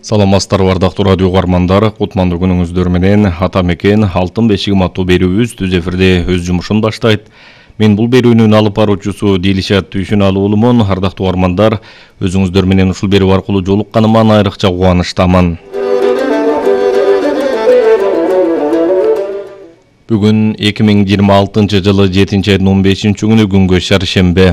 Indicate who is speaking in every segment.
Speaker 1: Саламатсыздарбы ардактуу радио угармандар, кутмандуу күнүңүздөр менен ата мекен Алтын бешигим аттуу берүүбүз түз эфирде өз жумушун баштайт. Мен бул берүүнүн алып баруучусу Дилишат Түйшүналуу уулумун. Ардактуу угармандар, өзүңүздөр менен ушул берүү аркылуу жолукканыма айрыкча кубанычтамын. Бүгүн 2026 жылы 7-айдын 15-күнү күнгө шаршембе.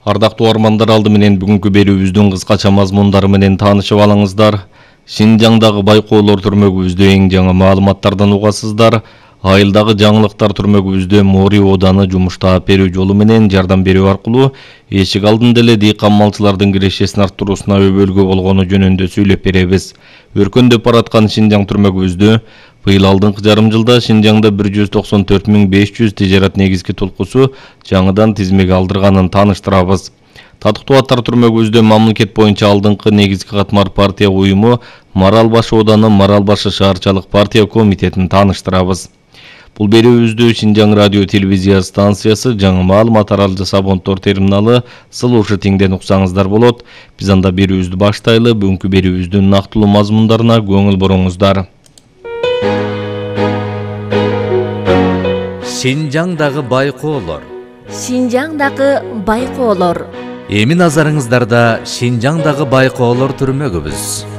Speaker 1: Ардактуу угармандар, алды менен бүгүнкү берүүбүздүн кыскача мазмундары менен таанышып алыңыздар. Шинжаңдагы байкоолор түрмөгүбүздө эң жаңы маалыматтардан угасыздар. Айылдагы жаңылыктар түрмөгүбүздө Мори ооданы жумуш таап берүү жолу менен жардам берүү аркылуу эшик алдында эле дыйкан малчылардын кирешесин арттыруусуна өбөлгө болгону жөнүндө сүйлөп беребиз. Өркөндөп бараткан Шинжаң түрмөгүбүздө быйыл алдыңкы жарым жылда Шинжаңда 194.500 тижарат негизги толкусу жаңыдан тизмеге алдырганын тааныштырабыз. Татыктуу аттар түрмөгүбүздө мамлекет боюнча алдыңкы негизги катмар партия уюму Марал Баш ооданы Марал Башы шаарчалык партия комитетин тааныштырабыз. Бул берүүбүздү Шинжаң радио телевизия станциясы, жаңы маалымат аралжы Сабонтор терминалы Сылуушу тиңден уксаңыздар болот. Биз анда берүүбүздү баштайлы. Бүгүнкү берүүбүздүн нактылуу мазмундарына көңүл буруңуздар.
Speaker 2: Шинжаңдагы байкоолор.
Speaker 3: Шинжаңдагы байкоолор.
Speaker 2: Эми назарыңыздарда Шинжаңдагы байкоолор түрмөгүбүз.